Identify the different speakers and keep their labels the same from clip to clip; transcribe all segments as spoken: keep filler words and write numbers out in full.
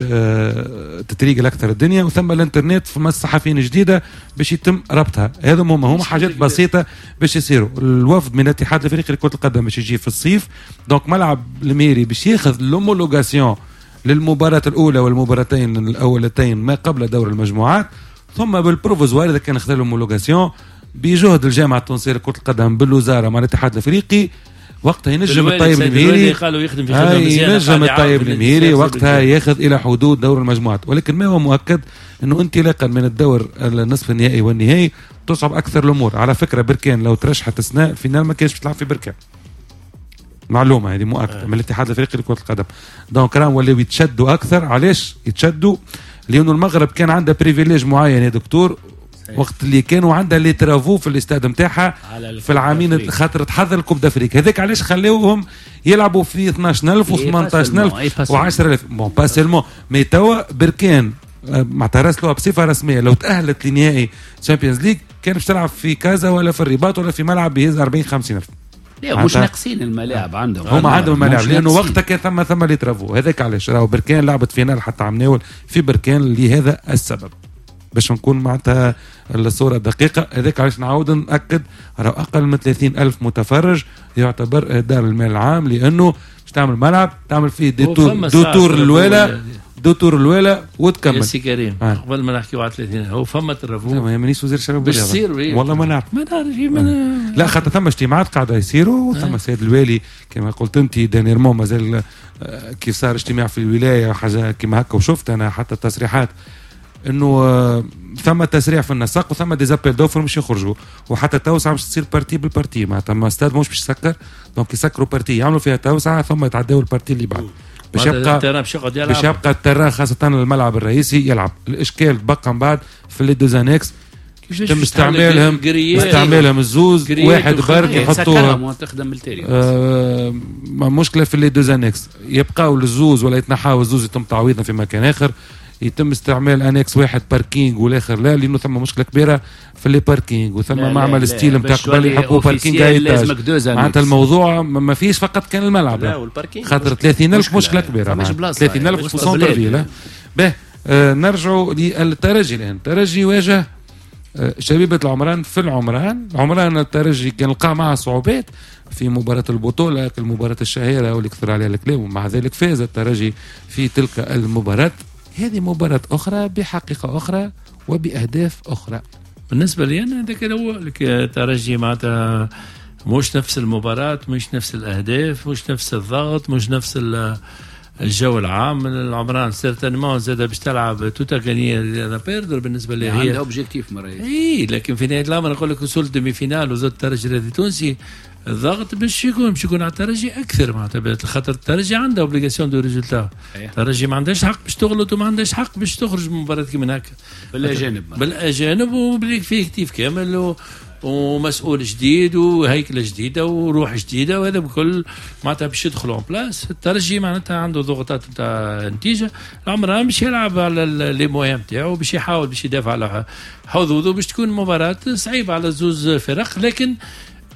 Speaker 1: آه، تتريقل اكثر الدنيا. وثم الانترنت، فما الصحفيين جديدة باش يتم ربطها. هذا هما هما حاجات بسيطة باش يصيروا. الوفد من الاتحاد الافريقي لكرة القدم باش يجي في الصيف، donc ملعب المهيري باش ياخذ l'homologation للمباراة الاولى والمباراتين الاولتين ما قبل دور المجموعات، ثم بال provisoire اذا كان خذا l'homologation بجهد الجامعة التونسية لكرة القدم بالوزارة مع الاتحاد الافريقي، وقتها ينجم الطيب المهيري
Speaker 2: قالوا يخدم في خدمة
Speaker 1: ينجم الطيب المهيري وقتها ياخذ الى حدود دور المجموعات. ولكن ما هو مؤكد انه انطلاقا من الدور النصف النهائي والنهائي تصعب اكثر الامور. على فكره، بركان لو ترشحت السنة finale ما كانش تلعب في بركان، معلومة هذه مؤكدة من الاتحاد الافريقي لكرة القدم. donc راهم ولاو يتشدوا اكثر. علاش يتشدوا؟ لانه المغرب كان عندها privilège معين يا دكتور، وقت اللي كانوا عندها les travaux في الاستاد نتاعها في العامين، خاطر تحضر ال Coupe d'Afrique. هذاك علاش خلوهم يلعبوا في اثنا عشر ألف و ثمنطاش ألف و عشرة آلاف. bon، pas seulement، mais توا بركان آه، معناتها راسلوها بصفة رسميه، لو تاهلت لنهائي Champions League كان باش تلعب في كازا ولا في الرباط ولا في ملعب يهز أربعين خمسين ألف.
Speaker 3: لا، مش ناقصين الملاعب عندهم.
Speaker 1: هما عندهم الملاعب، لانه وقتها كان ثم ثم les travaux. هذاك علاش راهو بركان لعبت finale حتى عمناول في بركان لهذا السبب، باش نكون معناتها الصورة دقيقة. هذاك علاش نعاود نأكد، راهو أقل من ثلاثين ألف متفرج يعتبر إهدار المال العام، لأنه باش تعمل ملعب تعمل فيه deux tours، deux tours الولا، deux tours الولا وتكمل.
Speaker 2: يا سي كريم آه. قبل ما نحكيو على ثلاثين، هو فما travaux.
Speaker 1: ما مانيش وزير الشباب.
Speaker 2: باش تصير.
Speaker 1: والله ما نعرف.
Speaker 2: ما نعرف.
Speaker 1: لا، خاطر ثم اجتماعات قاعدة يصيروا، ثم السيد الوالي كما قلت انت dernièrement مازال آه، كيف صار اجتماع في الولاية حاجة كما هكا، وشفت انا حتى التصريحات انه آه، ثم تسريع في النسق وثم des appels d'offres مش يخرجوا، وحتى التوسعة مش تصير partie بال partie، معناتها ما ستاد مش باش يسكر، donc يسكروا partie يعملوا فيها توسعه ثم يتعداو ال partie اللي بعد باش يبقى
Speaker 2: ال terrain باش يقعد يلعب.
Speaker 1: باش يبقى ال terrain، خاصة الملعب الرئيسي يلعب. الاشكال بقى من بعد في les deux annexes، تم استعمالهم استعمالهم الزوز، واحد برك يحطوه.
Speaker 3: تخدم بالتالي.
Speaker 1: آه مشكلة في les deux annexes، يبقاو الزوز ولا يتنحاو الزوز، يتم تعويضهم في مكان اخر، يتم استعمال annexe واحد parking والاخر لا، لانه ثم مشكلة كبيرة في les parkings، وثم معمل style نتاع قبل يحبوا parking. معناتها الموضوع ما فيش فقط كان الملعب.
Speaker 4: لا، وال parking.
Speaker 1: خاطر ثلاثين ألف مشكلة كبيره، ثلاثين ألف في centre-ville. به آه نرجعوا للترجي الان. الترجي واجه آه، شبيبة العمران في العمران. العمران الترجي كان لقى معها صعوبات في مباراة البطولة، المباراة الشهيرة واللي كثر عليها الكلام، ومع ذلك فاز الترجي في تلك المباراة. هذه مباراة أخرى بحقيقة أخرى وبأهداف أخرى.
Speaker 2: بالنسبة لي أنا هذاك هو الترجي، معناتها مش نفس المباراة، مش نفس الأهداف، مش نفس الضغط، مش نفس الجو العام. العمران certainement زاد باش تلعب tout à gagner à perdre بالنسبة لي.
Speaker 3: هي عندها objectif
Speaker 2: مرة. اي، لكن في نهاية الامر نقول لك وصلت demi-finale وزاد الترجي الرياضي التونسي، الضغط باش يكون باش يكون على الترجي اكثر، معناتها خاطر الترجي عندها obligation de résultat. الترجي ما عندهاش حق باش تغلط وما عندهاش حق باش تخرج من مباراة كيما هكا.
Speaker 3: بالاجانب.
Speaker 2: بالاجانب وب l'effectif كامل و ومسؤول جديد وهيكله جديدة وروح جديده، وهذا بكل معناتها باش يدخلوا en place. الترجي معناتها عنده ضغوطات نتاع نتيجه. العمران باش يلعب على les moyens نتاعو، باش يحاول باش يدافع على حظوظه. باش تكون مباراة صعيبة على زوز فرق، لكن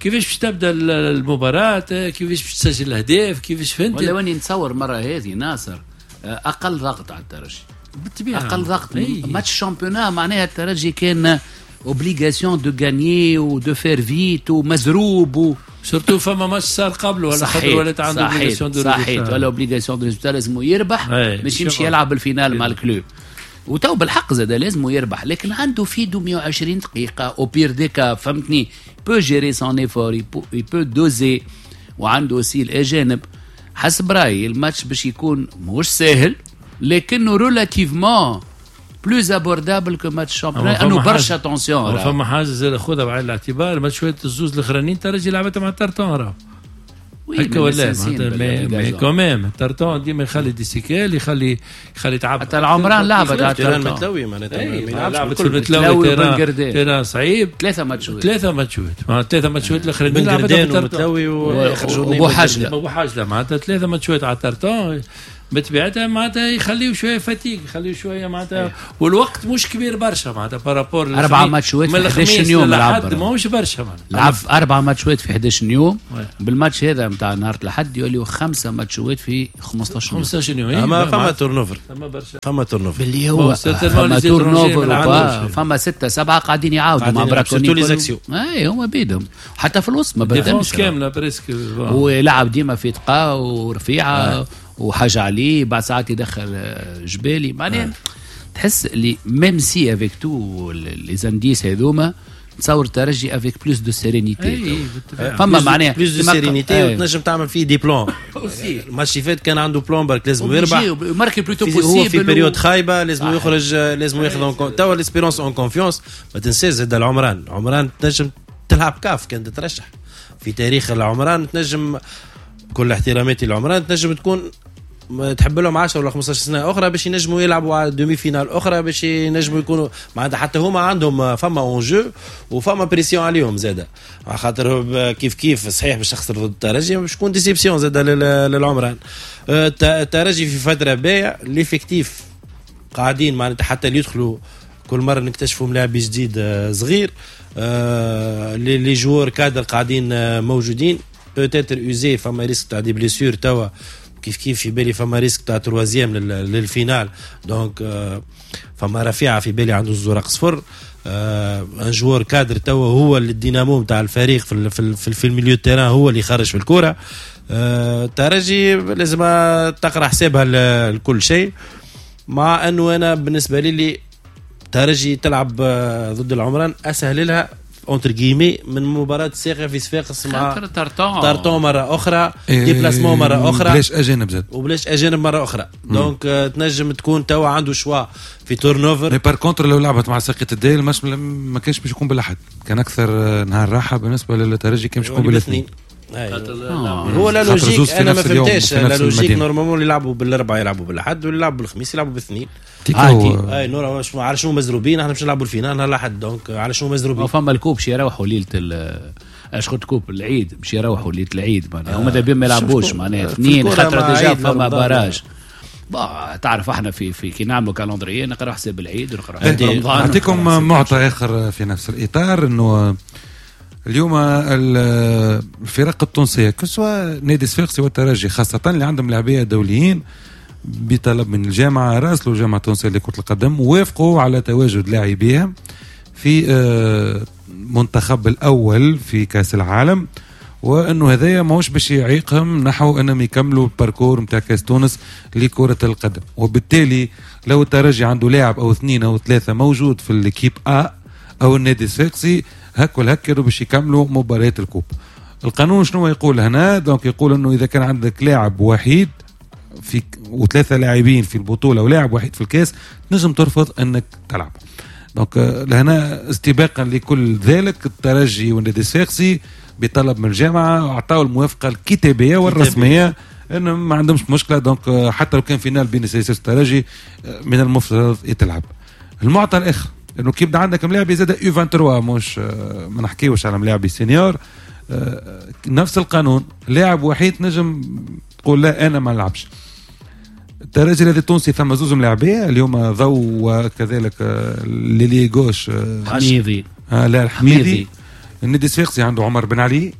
Speaker 2: كيفاش باش تبدا المباراه، كيفاش باش تسجل الاهداف، كيفاش فهمت؟
Speaker 3: ولا واني نتصور مرة هذه ناصر اقل ضغط على الترجي.
Speaker 2: بالطبيعه.
Speaker 3: اقل ضغط. match championnat معناها الترجي كان obligation de gagner و de faire vite ومزروب و
Speaker 2: surtout فما ماتش صار قبله ولا خاطر ولات عنده
Speaker 3: obligation de صحيح، ولا obligation de résultat، لازم يربح باش يمشي يلعب ال finale مع ال Club. وتو بالحق زاد لازم يربح، لكن عنده في دو مية وعشرين دقيقة au pire des cas، فهمتني، peut gérer son effort، il peut doser، وعنده aussi الاجانب. حسب رايي الماتش باش يكون مش ساهل، لكنه relativement plus abordable que match championnat، انه برشا tension.
Speaker 2: فما حاجة زاد خذها بعين الاعتبار، ماتشات الزوز الاخرانيين ترجي لعبتها مع الترتون راه هكا ولا mais mais quand même ترتون ديما يخلي des séquelles، يخلي يخلي تعب.
Speaker 3: حتى العمران لعبت
Speaker 4: على terrain متلوي معناتها.
Speaker 2: لعبت في المتلوي، terrain terrain صعيب.
Speaker 3: ثلاثة ماتشات.
Speaker 2: ثلاثة ماتشات، ثلاثة ماتشات الاخرانيين
Speaker 4: لعبتها في المتلوي.
Speaker 3: وبوحجله.
Speaker 2: وبوحجله، معناتها ثلاثة ماتشات على ترتون. بطبيعتها معناتها يخليو شوية fatigue، يخليو شوية معناتها، والوقت مش كبير برشا معناتها par rapport
Speaker 3: اربع ماتشات في احداش يوم
Speaker 2: لعب، ماهوش برشا معناتها
Speaker 3: لعب اربع ماتشات في احداش يوم. بالماتش هذا نتاع نهار الاحد يوليو خمسة ماتشات في خمسطاش يوم.
Speaker 2: خمسطاش يوم.
Speaker 4: اما فما turnover،
Speaker 2: فما برشا،
Speaker 4: فما turnover
Speaker 3: اللي هو فما turnover، فما ستة سبعة قاعدين يعاودوا مع براكوني
Speaker 4: les axiaux.
Speaker 3: اي هما بيدهم حتى في الوسط ما بدلش
Speaker 2: كاملة presque،
Speaker 3: ولعب ديما في تقا ورفيعه وحاجه عليه، بعد ساعات يدخل جبالي معناها. تحس اللي même si avec tous les indices هذوما تصور الترجي avec plus de sérénité، فما معناها
Speaker 4: plus de sérénité وتنجم تعمل فيه des plans. الماتش اللي فات كان عنده plan برك لازم يربح
Speaker 3: marquer plus tôt possible،
Speaker 4: هو في période خايبة لازم يخرج، لازم ياخذ توا l'Espérance en confiance. ما تنساش زاد العمران، عمران تنجم تلعب كاف كان تترشح في تاريخ العمران، تنجم كل احتراماتي للعمران تنجم تكون تحب لهم عشرة ولا خمسطاش سنة اخرى باش ينجموا يلعبوا على demi-finale اخرى، باش ينجموا يكونوا معناتها حتى هما عندهم فما enjeu وفما pression عليهم زاده، خاطر كيف كيف صحيح باش تخسر ضد الترجي باش تكون déception زاده للعمران. الترجي في فترة باهيه، l'effectif قاعدين معناتها حتى اللي يدخلوا كل مرة نكتشفوا ملاعب جديد صغير، les joueurs cadres قاعدين موجودين، peut-être usés، فما risque تاع des blessures توا كيف كيف في بالي فما risque تاع troisième لل finale، donc فما رفيعة في بالي عنده الزرق صفر، un joueur cadre توا هو الدينامو نتاع الفريق في في في, في ال milieu terrain، هو اللي خرج في الكورة. الترجي لازم تقرا حسابها لكل شيء، مع انه انا بالنسبة لي اللي الترجي تلعب ضد العمران اسهل لها entre guillemets من مباراة الساقية في صفاقس مع
Speaker 3: تارتون
Speaker 4: تارتون مرة أخرى، déplacement مرة أخرى،
Speaker 1: بلاش أجانب زاد
Speaker 4: وبلاش أجانب مرة أخرى، donc تنجم تكون توا عنده choix في turnover.
Speaker 1: mais par contre لو لعبت مع ساقية الدايل الماتش ما كانش باش يكون بالأحد، كان أكثر نهار راحة بالنسبة للترجي، كان باش يكون بالاثنين.
Speaker 4: آه. هو la logique انا ما فهمتهاش la logique، normalement اللي يلعبوا بالاربعة يلعبوا بالاحد واللي يلعبوا بالخميس يلعبوا بالاثنين.
Speaker 3: عادي
Speaker 4: اي نور على شنو مزروبين احنا باش نلعبوا ال finale نهار الاحد، donc على شنو مزروبين؟
Speaker 3: فما ال coupe باش يروحوا ليلة اش قلت coupe العيد باش يروحوا ليلة العيد معناها، هما دابا ما يلعبوش معناها اثنين خاطر déjà فما barrage. تعرف احنا في في كي نعملوا calendrier نقرا حساب العيد ونقرا حساب رمضان.
Speaker 1: نعطيكم معطى اخر في نفس الاطار، انه اليوم الفرق التونسية que ce soit نادي صفاقسي والترجي خاصة اللي عندهم لاعبيه دوليين بطلب من الجامعة راسلوا الجامعة التونسية لكرة القدم ووافقوا على تواجد لاعبيها في منتخب الاول في كاس العالم، وانه هذايا ماهوش باش يعيقهم نحو انهم يكملوا ال parcours نتاع كاس تونس لكرة القدم. وبالتالي لو الترجي عنده لاعب او اثنين او ثلاثة موجود في l'équipe A او النادي الصفاقسي هكا هكا باش يكملوا مباريات ال coupe. القانون شنو يقول هنا؟ donc يقول انه اذا كان عندك لاعب وحيد في وثلاثة لاعبين في البطولة ولاعب وحيد في الكاس تنجم ترفض انك تلعب. donc لهنا استباقا لكل ذلك الترجي والنادي الصفاقسي بطلب من الجامعة اعطاوا الموافقة الكتابية والرسميه انه ما عندهمش مشكلة، donc حتى لو كان finale بين السياسة والترجي من المفترض يتلعب. المعطى الاخر انه كي يبدا عندك ملاعب زاد U ثلاثة وعشرين، مش ما نحكيوش على ملاعب senior، نفس القانون لاعب وحيد نجم تقول لا انا ما نلعبش. الترجي الذي التونسي ثم زوز ملاعبيه اليوم ضو وكذلك l'ailier gauche
Speaker 3: حميدي،
Speaker 1: آه لا الحميدي. النادي الصفاقسي عنده عمر بن علي،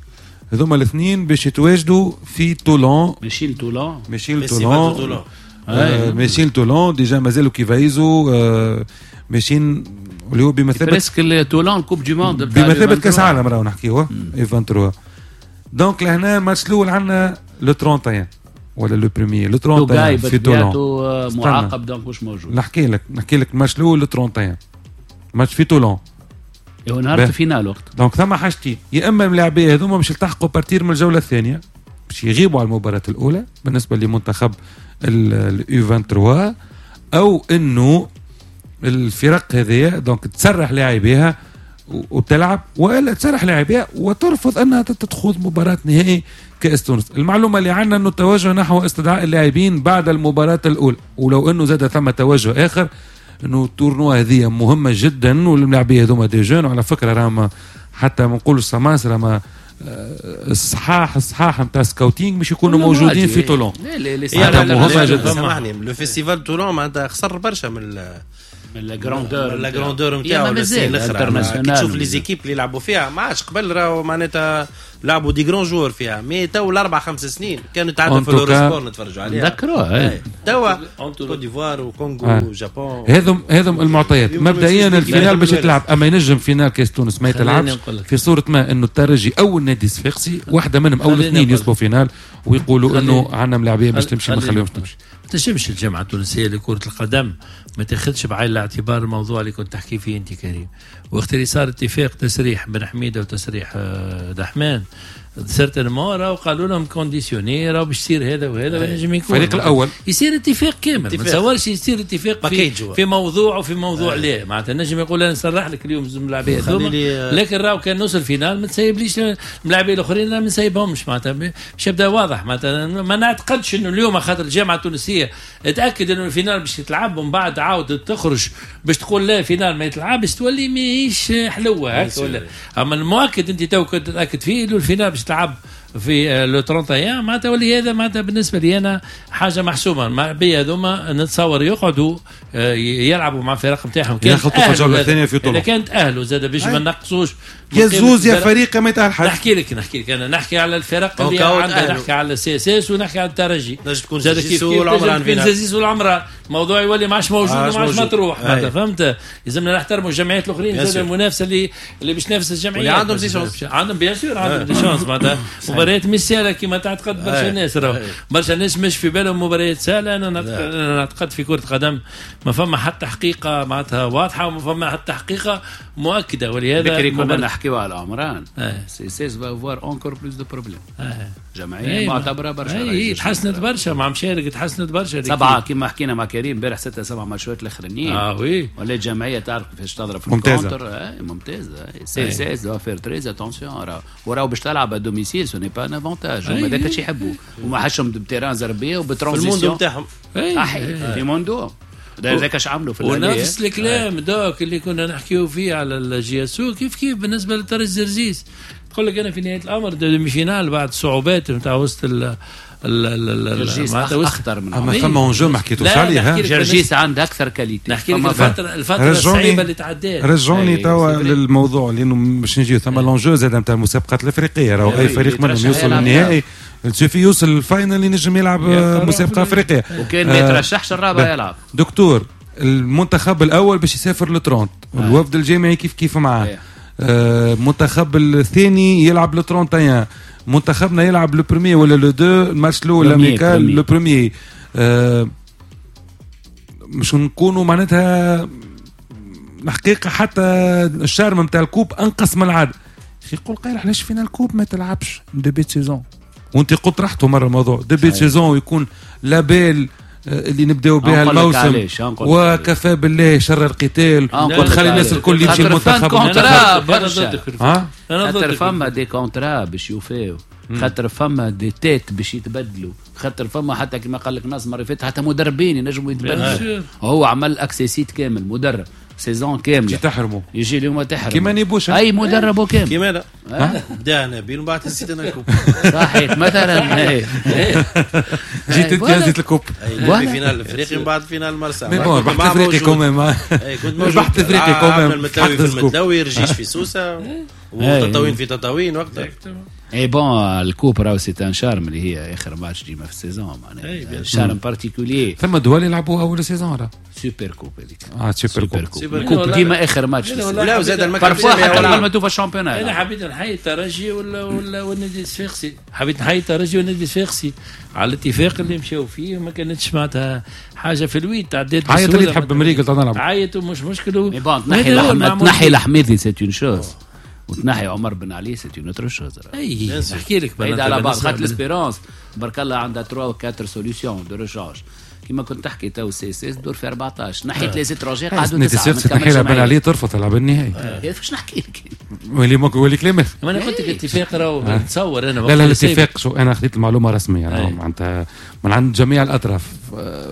Speaker 1: هذوما الاثنين باش يتواجدوا في تولون،
Speaker 3: ماشيين تولون
Speaker 1: ماشيين تولون ماشيين تولون déjà مازالوا كيف يزو ماشيين اللي هو بمثابة
Speaker 3: presque تولون coupe du monde
Speaker 1: بمثابة كاس عالم راهو نحكيوه U ثلاثة وعشرين. donc لهنا الماتش الاول عندنا le ثلاثة وثلاثين ولا le premier le ثلاثة وثلاثين في تولون
Speaker 3: معاقب donc مش موجود.
Speaker 1: نحكي لك نحكي لك الماتش الاول le ثلاثة وثلاثين ماتش في تولون
Speaker 3: هو نهار ال finale وقت.
Speaker 1: donc ثم حاجتين، يا اما الملاعبيه هذوما باش يلتحقوا à partir من الجولة الثانية باش يغيبوا على المباراة الاولى بالنسبة لمنتخب ال U ثلاثة وعشرين، او انه الفرق هذه donc تسرح لاعبيها وتلعب، والا تسرح لاعبيها وترفض انها تخوض مباراة نهائي كاس تونس. المعلومة اللي عندنا انه التوجه نحو استدعاء اللاعبين بعد المباراة الاولى، ولو انه زاد ثم توجه اخر انه ال tournoi هذه مهمة جدا والملاعبيه هذوما des jeunes، وعلى فكرة راهم حتى ما نقولش سماسره ما الصحاح الصحاح نتاع scouting مش يكونوا موجودين في تولون.
Speaker 3: لا لا
Speaker 1: هذا مهم جدا.
Speaker 4: سامحني le festival تولون معناتها خسر برشا من
Speaker 3: من la grandeur
Speaker 4: la grandeur نتاعو الاخر. كي تشوف les équipes اللي يلعبوا فيها ما عادش قبل راهو معناتها لعبوا des grands joueurs فيها، mais تو الاربع خمس سنين كانوا تعدوا في l'Eurosport نتفرجوا عليها
Speaker 3: نذكروها.
Speaker 4: توا كوت ديفوار وكونغو و Japon،
Speaker 1: هذم هذم المعطيات. مبدئيا ال finale باش تلعب، اما ينجم finale كاس تونس ما يتلعبش في صوره ما انه الترجي او النادي الصفاقسي واحدة منهم او الاثنين يصبوا finale ويقولوا انه عندنا ملاعبيه باش تمشي ما نخليهمش تمشي.
Speaker 2: ما تنجمش الجامعة التونسية لكرة القدم ما تاخذش بعين الاعتبار الموضوع اللي كنت تحكي فيه انت كريم. وقت اللي صار اتفاق تسريح بن حميده وتسريح دحمان certainement راهو قالوا لهم conditionné راهو باش يصير هذا وهذا ونجم يكون
Speaker 1: الفريق الاول
Speaker 2: يصير اتفاق كامل. ما تصورش يصير اتفاق في, في موضوع وفي موضوع لا معناتها نجم يقول انا نصرح لك اليوم الملاعبيه هذوما، لكن راهو كان نوصل finale ما تسيبليش الملاعبيه الاخرين ما نسيبهمش معناتها باش يبدا واضح. معناتها ما نعتقدش انه اليوم خاطر الجامعة التونسية تاكد انه ال finale باش يتلعب ومن بعد عاود تخرج باش تقول لا finale ما يتلعبش تولي ماهيش حلوة هكا ولا. اما المؤكد انت تو كنت تتاكد فيه انه ال finale باش تلعب في le ثلاثة وثلاثين معناتها ولي هذا معناتها بالنسبة لي انا حاجة محسومة. الملاعبيه هذوما نتصور يقعدوا يلعبوا مع الفرق نتاعهم
Speaker 1: كان ياخذوا الجولة الثانية في طول.
Speaker 2: اذا كانت اهلوا زاد باش ما نقصوش
Speaker 1: يا زوز يا فريق ما يتاهل حد.
Speaker 2: نحكي لك نحكي لك انا نحكي على الفرق اللي عندنا، نحكي على ال CSS ونحكي على الترجي
Speaker 4: تكون زازيس والعمران
Speaker 2: فينا زازيس والعمران الموضوع يولي ما عادش موجود وما عادش مطروح معناتها فهمت. لازمنا نحترموا الجمعيات الاخرين زاد المنافسة اللي اللي باش تنافس الجمعيات
Speaker 4: عندهم des chances،
Speaker 2: عندهم bien sûr عندهم des chances معناتها. مباريات مش سهلة كما تعتقد برشا ناس، راهو برشا ناس مش في بالهم مباريات سهلة. انا نعتقد في كره قدم ما فما حتى حقيقة معناتها واضحة وما فما حتى حقيقة مؤكدة. ولهذا
Speaker 3: بكري كنا نحكيو على عمران CSS va avoir encore plus de problèmes. جمعية معتبره برشا
Speaker 2: اي تحسنت برشا مع مشارك تحسنت برشا
Speaker 3: سبعة كما حكينا مع كريم امبارح ستة سبعة ماتشات الاخرانيين
Speaker 2: اه oui
Speaker 3: ولات جمعية تعرف كيفاش تضرب في ال contre ممتازة. CSS doit faire très attention وراهو باش تلعب à domicile ce n'est pas un avantage. هما هذاك الشيء يحبوا وما حشهم ب terrain زربيه وب transition
Speaker 4: في ال monde نتاعهم
Speaker 3: في monde هذاك اش عملوا في
Speaker 2: ونفس الكلام دوك اللي كنا نحكيو فيه على ال JSO كيف كيف بالنسبة للترجي الزرزيس. تقول لك انا في نهاية الامر demi-finale بعد صعوبات نتاع وسط ال
Speaker 3: جرجيس اخطر من
Speaker 1: اما ثم enjeu ما حكيتوش عليها.
Speaker 3: جرجيس عنده اكثر qualité.
Speaker 2: نحكي لك الفترة الفترة الصعيبه اللي تعدات.
Speaker 1: رجعوني توا للموضوع لانه باش نجيو ثم l'enjeu زاد نتاع المسابقات الافريقية. راهو اي فريق منهم يوصل للنهائي suffit يوصل لل finale ينجم يلعب مسابقة افريقية
Speaker 3: وكان ما يترشحش الرابع يلعب.
Speaker 1: دكتور المنتخب الاول باش يسافر ل trente، الوفد الجامعي كيف كيف معاه، المنتخب الثاني يلعب le trente et un، منتخبنا يلعب le premier ولا le deux الماتش الاول amical le premier. أه مش نكونوا معناتها الحقيقة حتى ال charme نتاع ال coupe انقص من العادة. يقول قايل علاش finale coupe ما تلعبش début saison، وانت قلت رحتوا مرة الموضوع début saison ويكون la belle اللي نبداو بها الموسم وكفى بالله شر القتال وتخلي الناس الكل يمشي المنتخب.
Speaker 3: خاطر فما des contrats باش يوفيو، خاطر فما des têtes باش يتبدلوا، خاطر فما حتى كما قال لك ناس مرة فاتت حتى مدربين ينجموا يتبدلوا. هو عمل accessit كامل مدرب saison كاملة
Speaker 1: تحرموا
Speaker 3: يجي اليوم تحرم
Speaker 1: كيما نيبوش
Speaker 3: اي مدرب كامل
Speaker 4: كيما لا بدا نبيل ومن بعد نسيت انا ال coupe
Speaker 3: صحيح مثلا
Speaker 1: جيت انت هزيت ال coupe
Speaker 4: في finale الافريقي ومن بعد finale مرسى.
Speaker 1: mais bon ربحت افريقي quand même، ربحت افريقي quand même.
Speaker 4: المتلوي في المتلوي، رجيش في سوسة وتطاوين في تطاوين وقتها.
Speaker 3: اي bon ال coupe راهو c'est un charme اللي هي اخر ماتش ديما في ال saison معناها charme particulier.
Speaker 1: ثم دول يلعبوا اول saison راه
Speaker 3: super coupe هذيك
Speaker 1: اه super coupe
Speaker 3: super coupe ديما اخر ماتش.
Speaker 4: لا وزاد المكتب
Speaker 3: حتى قبل ما توفى ال championnat.
Speaker 2: انا حبيت نحيي الترجي ولا ولا والنادي الصفاقسي، حبيت نحيي الترجي والنادي الصفاقسي على الاتفاق اللي مشاو فيه وما كانتش معناتها حاجة في الويد تعديت.
Speaker 1: عيط اللي تحب مريقل نلعب
Speaker 2: عيط ومش مشكل.
Speaker 3: تنحي تنحي الحميدي c'est une chose وتنحي عمر بن علي c'est une autre chose.
Speaker 2: اي نحكي لك
Speaker 3: بعيد على بعض خاطر l'Espérance بارك الله عندها ثلاثة و أربعة solutions de rechange كيما كنت تحكي تو CSS دور في أربعطاش نحيت les étrangers قعدوا تسعة.
Speaker 1: تنحي بن علي ترفض تلعب النهائي
Speaker 3: كيفاش نحكي لك
Speaker 1: ولي ولي كلمة.
Speaker 2: ما انا قلت لك اتفاق راهو نتصور انا
Speaker 1: لا لا الاتفاق شو انا خذيت المعلومة رسمية معناتها من عند جميع الاطراف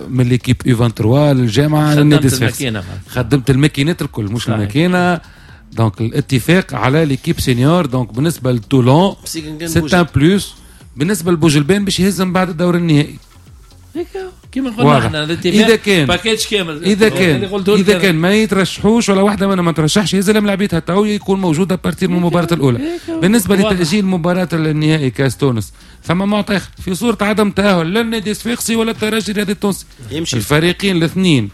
Speaker 1: من l'équipe U ثلاثة وعشرين للجامعة للنادي الصفاقسي. خدمت الماكينات الكل مش الماكينة donc الاتفاق على l'équipe senior. donc بالنسبة لتولون c'est un plus، بالنسبة لبوجلبان باش يهزم بعد الدور النهائي.
Speaker 2: كيما قلنا احنا
Speaker 1: اذا كان
Speaker 2: package كامل،
Speaker 1: اذا كان اذا كان ما يترشحوش ولا واحدة منهم ما ترشحش يهز لعبيتها تو يكون موجودة à partir من المباراة الاولى. بالنسبة لتاجيل مباراة النهائي كاس تونس ثم معطى في صوره عدم تاهل لا النادي الصفاقسي ولا الترجي الرياضي التونسي، الفريقين الاثنين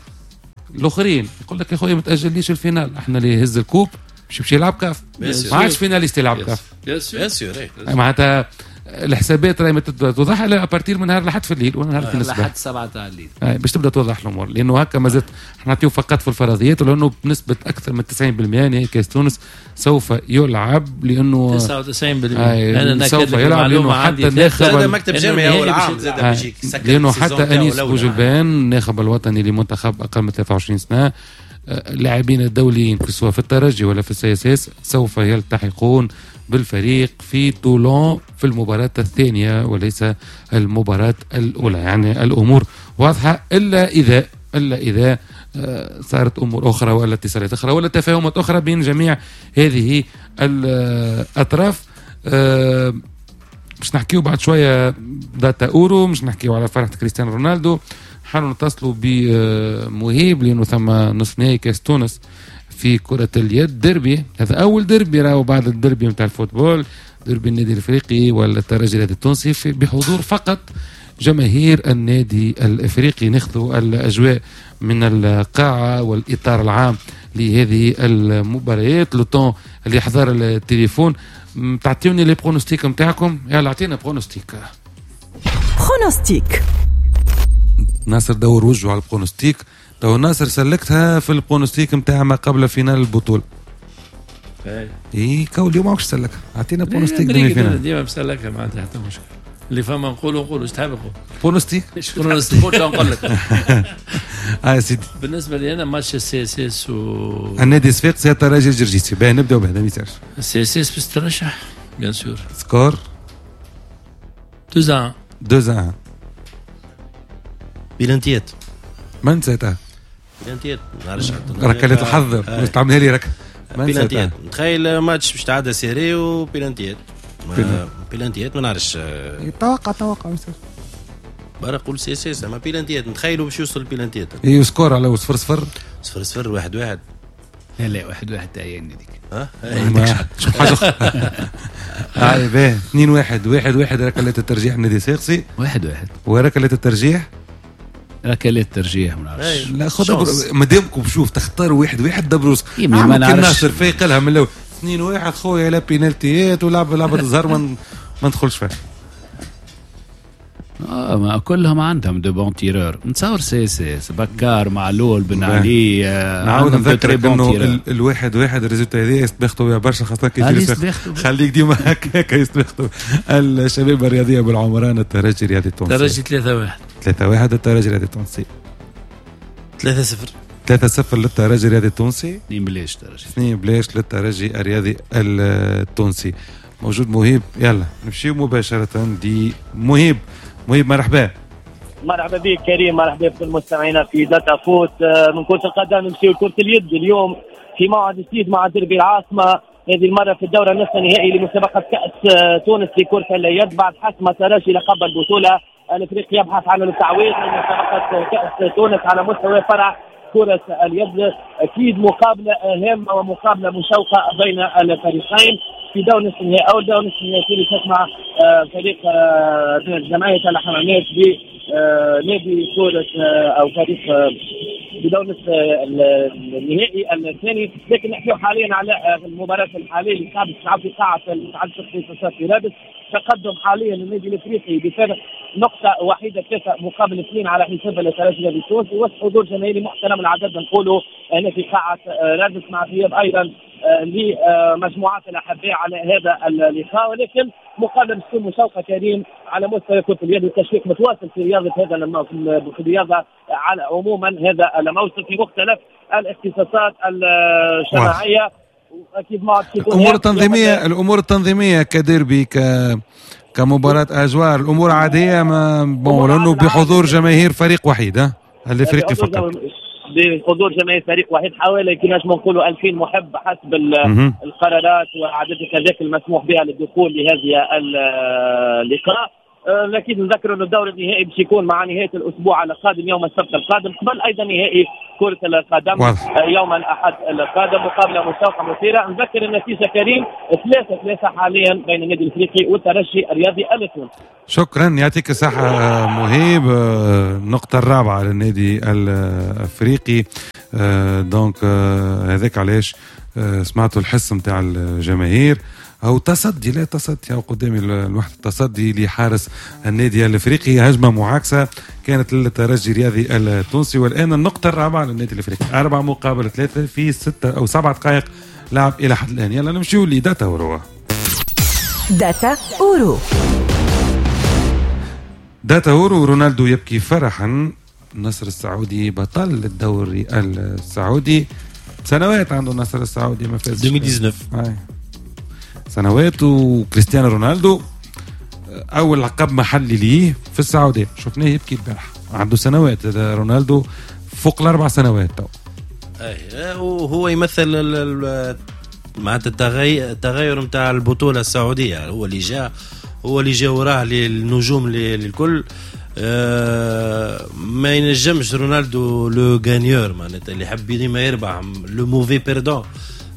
Speaker 1: الاخرين يقول لك يا خويا ما تاجليش ال finale، احنا اللي يهز ال coupe باش يمشي يلعب كاف، ما عادش finaliste يلعب كاف.
Speaker 2: bien sûr
Speaker 1: معناتها الحسابات راهي توضح à partir من نهار لحد في الليل ولا نهار الاثنين الصباح
Speaker 3: لحد سبعة تاع الليل
Speaker 1: باش تبدا توضح الامور، لانه هكا مازالت نعطيو فقط في الفرضيات، ولانه بنسبة اكثر من تسعين بالمئة نهائي كاس تونس سوف يلعب، لانه
Speaker 2: تسعة وتسعين بالمئة انا
Speaker 1: سوف يلعب، لانه حتى الناخب
Speaker 4: مكتب جامعي اول عام زاد بيجيك،
Speaker 1: لانه حتى انيس بوجلبان الناخب الوطني لمنتخب اقل من ثلاثة وعشرين سنة، اللاعبين الدوليين سواء في الترجي ولا في ال CSS سوف يلتحقون بالفريق في تولون في المباراة الثانية وليس المباراة الأولى. يعني الأمور واضحة، إلا إذا إلا إذا صارت أمور أخرى ولا اتصالات أخرى ولا تفاهمات أخرى بين جميع هذه الأطراف. مش نحكيو بعد شوية data أورو، مش نحكيو على فرحة كريستيانو رونالدو، حنو نتصلوا بمهيب لأنه ثم نصف نهائي كاس تونس في كرة اليد، ديربي، هذا أول ديربي راهو بعد الديربي نتاع ال football، ديربي النادي الإفريقي والترجي الرياضي التونسي بحضور فقط جماهير النادي الإفريقي. ناخذ الأجواء من القاعة والإطار العام لهذه المباريات. le temps اللي حضر التليفون تعطيوني les pronostics نتاعكم، يلا اعطينا pronostic.
Speaker 5: pronostic
Speaker 1: ناصر دور وجهه على ال pronostic. تو ناصر سلكتها في ال pronostic نتاع ما قبل finale البطولة. اي اي كول اليوم ماكش سلكها، اعطينا pronostic
Speaker 2: demi-finale. ديما مسلكها ما عندي حتى مشكل، اللي فما نقولوا نقولوا ايش تحب نقول
Speaker 1: pronostic
Speaker 2: pronostic نقول لك.
Speaker 1: اه سيدي
Speaker 2: بالنسبة لي انا ماتش ال CSS و
Speaker 1: النادي الصفاقسي الترجي الجرجيسي، باهي نبداو بهذا ما يصيرش.
Speaker 2: ال CSS باش ترشح bien sûr.
Speaker 1: score
Speaker 2: اثنين واحد
Speaker 1: اثنين واحد
Speaker 4: بلانتيات
Speaker 1: ما نسيتها
Speaker 4: بلانتيات نعرفش
Speaker 1: ركلات الحظ باش تعملها لي رك
Speaker 4: بلانتيات. نتخيل ماتش باش تعدى serré وبلانتيات بلانتيات ما نعرفش.
Speaker 1: توقع توقع
Speaker 4: برا قول CSS اما بلانتيات نتخيلوا باش يوصل بلانتيات.
Speaker 1: اي score على صفر صفر
Speaker 4: صفر صفر واحد واحد.
Speaker 3: لا لا واحد واحد تعيني ديك
Speaker 4: ها
Speaker 1: شوف حاجة اخرى. هاي باهي اثنين واحد واحد واحد ركلات الترجيح النادي الصفاقسي
Speaker 3: واحد واحد
Speaker 1: وركلات الترجيح
Speaker 3: ركلات الترجيح ما نعرفش.
Speaker 1: لا خذ مادامكم شوف تختار واحد واحد دبروس ما نعرفش. ناصر فايق لها من الاول اثنين واحد خويا لا بينالتيات ولعب لعبه الزهر ما ندخلش فيها.
Speaker 3: اه ما كلهم عندهم de bons tireurs، نتصور CSS بكار معلول بن علي.
Speaker 1: نعاود نذكرك انه الواحد واحد ال résultat هذه يستبختوا بها برشا خاصة كي خليك ديما هكاك يستبختوا. الشباب الرياضية بالعمران الترجي الرياضي التونسي
Speaker 2: الترجي ثلاثة واحد
Speaker 1: ثلاثة واحد الترجي الرياضي التونسي
Speaker 4: ثلاثة صفر
Speaker 1: ثلاثة صفر للترجي الرياضي التونسي
Speaker 3: اثنين بلاش ترجي
Speaker 1: اثنين بلاش للترجي الرياضي التونسي. موجود مهيب، يلا نمشيو مباشرة لمهيب. مهيب مرحبا.
Speaker 6: مرحبا بك كريم، مرحبا بكل مستمعينا في داتا فوت. من كرة القدم نمشيو لكرة اليد اليوم في موعد جديد مع دربي العاصمة، هذه المرة في الدورة النصف النهائي لمسابقة كأس تونس لكرة اليد بعد حسم الترجي لقب البطولة. الافريقي يبحث عن التعويض من مسابقة كأس تونس على مستوى فرع كرة اليد. أكيد مقابلة هامة ومقابلة مشوقة بين الفريقين في دور نصف النهائي أو دور نصف النهائي تسمع فريق جمعية الحمامات بنادي كرة أو فريق بدور نصف النهائي الثاني. لكن نحكي حاليا على المباراة الحالية اللي قاعدة تلعب في قاعة الاتحاد الشرقي في رادس. تقدم حاليا النادي الافريقي بفارق نقطة وحيدة ثلاثة مقابل اثنين على حساب الترجي التونسي، وسط حضور جماهيري محترم العدد نقوله هنا في قاعة رادس مع غياب أيضا لمجموعات الأحباء على هذا اللقاء. ولكن مقابلة تكون مشوقة كريم على مستوى كرة اليد، والتشويق متواصل في رياضة هذا الموسم، في الرياضة على عموما هذا الموسم في مختلف الاختصاصات الجماعية.
Speaker 1: اكيد ما الامور التنظيمية، الامور التنظيمية كديربي ك كمباراه اجوار الامور عادية ما bon لانه بحضور جماهير فريق وحيد ها الافريقي فقط.
Speaker 6: بحضور جماهير فريق وحيد حوالي كما نجم نقولوا ألفين محب حسب القرارات وعدد التذاكر المسموح بها للدخول لهذه اللقاء. لكن نذكر أن الدور النهائي باش يكون مع نهاية الأسبوع القادم يوم السبت القادم، قبل أيضا نهائي كرة القدم يوم الأحد القادم، مقابلة مشوقة مثيرة. نذكر النتيجة كريم ثلاثة ثلاثة حاليا بين النادي الإفريقي والترجي الرياضي التونسي.
Speaker 1: شكرا، يعطيك الصحة مهيب. النقطة الرابعة للنادي الأفريقي، donc هذاك علاش سمعتوا الحس نتاع الجماهير أو تصدي، لا تصدي أو قدامي الوحدة، تصدي لحارس النادي الأفريقي، هجمة معاكسة كانت للترجي الرياضي التونسي. والآن النقطة الرابعة للنادي الأفريقي، أربعة مقابل ثلاثة في ستة أو سبعة دقائق لعب إلى حد الآن. يلا نمشيو لداتا أورو.
Speaker 5: داتا أورو،
Speaker 1: داتا أورو، رونالدو يبكي فرحا، النصر السعودي بطل الدوري السعودي. سنوات عنده النصر السعودي ما فاز،
Speaker 4: ألفين وتسعطاش
Speaker 1: سنوات. وكريستيانو رونالدو أول لقب محلي ليه في السعودية، شفناه يبكي البارح، عنده سنوات رونالدو فوق الأربع سنوات تو.
Speaker 4: أي وهو يمثل معناتها التغير التغير نتاع البطولة السعودية، هو اللي جاء هو اللي جاء وراه للنجوم للكل. أه ما ينجمش رونالدو le gagneur معناتها اللي يحب ديما يربح، le mauvais perdant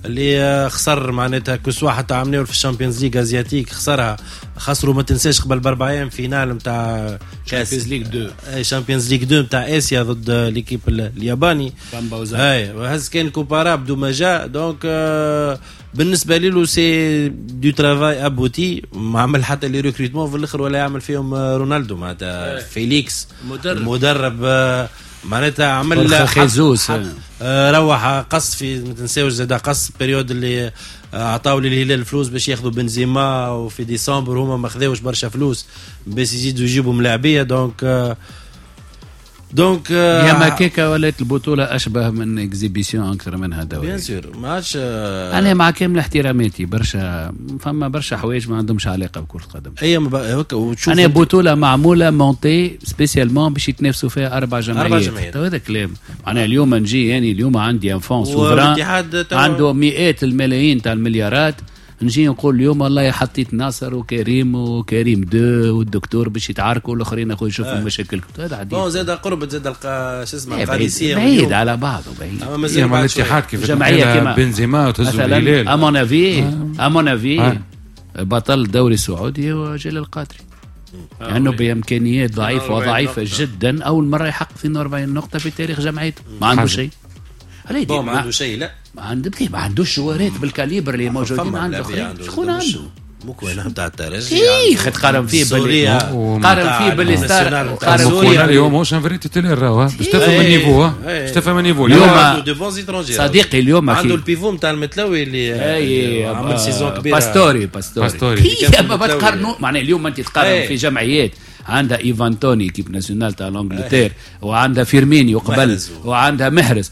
Speaker 4: اللي خسر معناتها que ce soit حتى عملناه في ال Champions League asiatique خسرها، خسروا ما تنساش قبل باربع ايام finale نتاع
Speaker 2: Champions League اثنين،
Speaker 4: اي Champions League اثنين نتاع اسيا ضد l'équipe الياباني، اي وهز كان Coupe arabe دو ما جا. donc آه بالنسبة له c'est du travail abouti، ما عمل حتى les recrutements في الاخر ولا يعمل فيهم رونالدو معناتها فيليكس المدرب معناتها عمل
Speaker 3: خيزوس
Speaker 4: روح قص في ما تنساوش زاد قص période اللي عطاو للهلال الفلوس باش ياخذوا بنزيما، وفي ديسمبر هما ما خذاوش برشا فلوس باش يزيدوا يجيبوا ملاعبيه. donc donc
Speaker 3: يا ما كيكا ولات البطولة اشبه من exhibition اكثر منها دوري.
Speaker 4: bien sûr ما عادش.
Speaker 3: انا مع كامل احتراماتي برشا فما برشا حوايج ما عندهمش علاقة بكره القدم.
Speaker 4: اي وتشوف
Speaker 3: انا بطوله معمولة montée spécialement باش يتنافسوا فيها اربع جمعيات، اربع جمعيات. هذا كلام معناها اليوم نجي يعني اليوم عندي un fonds souverain عنده مئات الملايين تاع المليارات، نجي نقول اليوم والله حطيت ناصر وكريم وكريم دو والدكتور باش يتعاركوا والاخرين اخويا يشوفوا آه. مشاكلكم. هذا عادي.
Speaker 4: bon زاد قربت زاد شو اسمه القادسية
Speaker 3: بعيد على بعضه بعيد.
Speaker 1: اما مازال مع الاتحاد كيف جمعية كيما بنزيما وتهزوا الهلال.
Speaker 3: à mon avis à mon avis بطل الدوري السعودي هو جلال القادري، لانه بامكانيات ضعيفة وضعيفه جدا اول مرة يحقق اثنين وأربعين نقطة في تاريخ جمعيته. ما عنده شيء.
Speaker 4: bon ما عنده شيء. لا
Speaker 3: ما عنده ما عندوش جوارات بال calibre اللي موجودين عند الاخرين. شكون عنده؟
Speaker 4: مكوينة نتاع الترجي.
Speaker 3: اي خد قارن فيه باللي قارن فيه باللي ستار
Speaker 1: قارن فيه اليوم ماهوش un vrai titulaire راهو باش تفهم ال niveau، باش تفهم ال niveau
Speaker 3: اليوم صديقي. اليوم
Speaker 4: عنده ال pivot نتاع المتلوي اللي عمل saison كبيرة،
Speaker 3: باستوري باستوري ما تقارنوا معناها اليوم انت تقارن في جمعيات عندها ايفان توني équipe nationale تاع l'Angleterre، وعندها فيرمينيو قبل، وعندها محرز،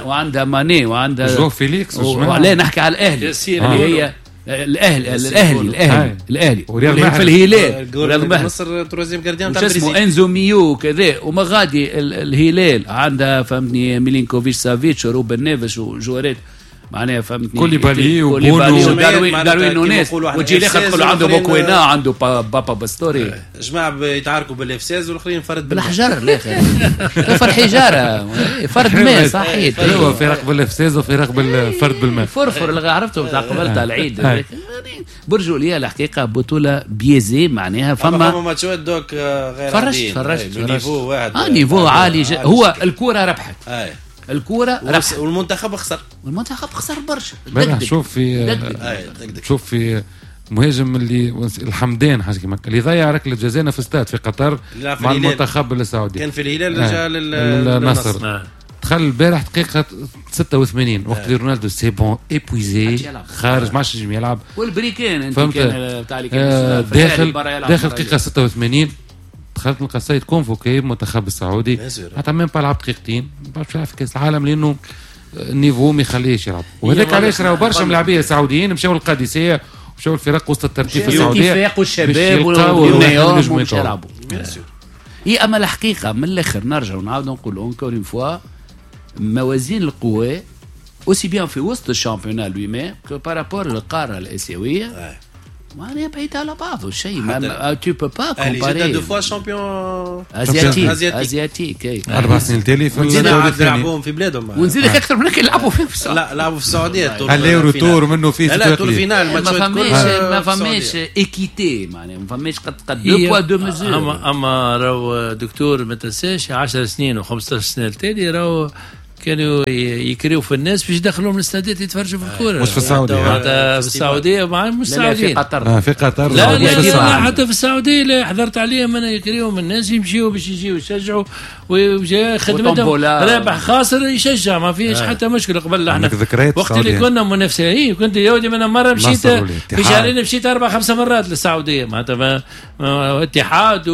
Speaker 3: وعندها ماني، وعندها
Speaker 1: جو فيليكس.
Speaker 3: وعلاه نحكي على الاهلي اللي هي الاهلي الاهلي الاهلي الاهلي في الهلال
Speaker 4: مصر troisième gardien
Speaker 3: تاع اسمه انزو ميو كذا، وما غادي الهلال عندها فهمتني ميلينكوفيتش سافيتش وروبن نيفش وجوارات معناها فهمتني
Speaker 1: كوليبالي وبونو
Speaker 3: داروين داروين نونيز، وتجي الاخر تقول عنده موكوينا عنده بابا باستوري.
Speaker 4: جماعة يتعاركوا بال F ستة والاخرين فرد
Speaker 3: بالحجر الاخر فرد حجارة فرد ماء صحيح.
Speaker 1: هو فرق بال F ستة وفرق بالفرد بالماء
Speaker 3: فرفر اللي عرفته بتاع قبل تاع العيد. برجولية الحقيقة بطوله biaisée معناها فما
Speaker 4: فما ماتشات دوك غير
Speaker 3: فرشت فرشت
Speaker 4: niveau واحد
Speaker 3: اه niveau عالي. هو الكره ربحت الكورة ربح
Speaker 4: والمنتخب خسر،
Speaker 3: والمنتخب خسر برشا.
Speaker 1: شوف في شوف في مهاجم اللي الحمدان حاجة كيما اللي ضيع ركلة جزاء في استاد في قطر مع المنتخب السعودي،
Speaker 4: كان في الهلال رجع للنصر.
Speaker 1: دخل البارح دقيقة ستة وثمانين وقت اللي رونالدو c'est bon épuisé خارج ما عادش ينجم يلعب.
Speaker 3: والبريكان انت كان تاع
Speaker 1: داخل داخل دقيقة ستة وثمانين دخلت نلقى السيد convoqué المنتخب السعودي حتى même pas لعب دقيقتين باش يلعب في كاس العالم لانه ال niveau ما يخليهش يلعب. وهذاك علاش راهو برشا ملاعبيه سعوديين مشاو للقادسيه ومشاو الفرق وسط الترتيب في السعودية
Speaker 3: الاتفاق والشباب والنيوم باش يلعبوا. اي اما الحقيقة من الاخر نرجع ونعاود نقول encore une fois موازين القوى aussi bien في وسط ال championnat lui-même que par rapport للقارة الاسيوية معناها بعيد على بعضه الشيء. ما tu peux pas comparer
Speaker 4: deux fois champion
Speaker 3: asiatique asiatique
Speaker 1: اربع سنين تالي في الدوري الثاني
Speaker 4: لعبوهم في بلادهم
Speaker 3: ونزيدك اكثر من هكا يلعبوا فيه في
Speaker 4: السعودية. لا لعبوا في السعودية
Speaker 1: aller retour منه فيه
Speaker 4: لا tour finale
Speaker 3: ما فماش ما فماش équité معناها ما فماش قد قد deux poids deux mesures.
Speaker 2: اما اما راهو دكتور ما تنساش عشر سنين وخمسطاش سنة التالي راهو كانوا يكريوا في الناس باش يدخلوهم الاستادات يتفرجوا في الكورة.
Speaker 1: مش في السعودية
Speaker 2: في السعودية مع مش السعودية
Speaker 3: في قطر
Speaker 1: آه في قطر
Speaker 2: لا لا, لا حتى في السعودية لا حضرت عليهم انا يكريوهم الناس يمشيوا باش يجيو يشجعوا وجا خدمتهم رابح خاسر يشجع ما فيش آه. حتى مشكلة. قبل احنا وقت اللي كنا منافسين كنت يا ودي انا مرة مشيت في شهرين مشيت اربع خمسة مرات للسعودية معناتها اتحاد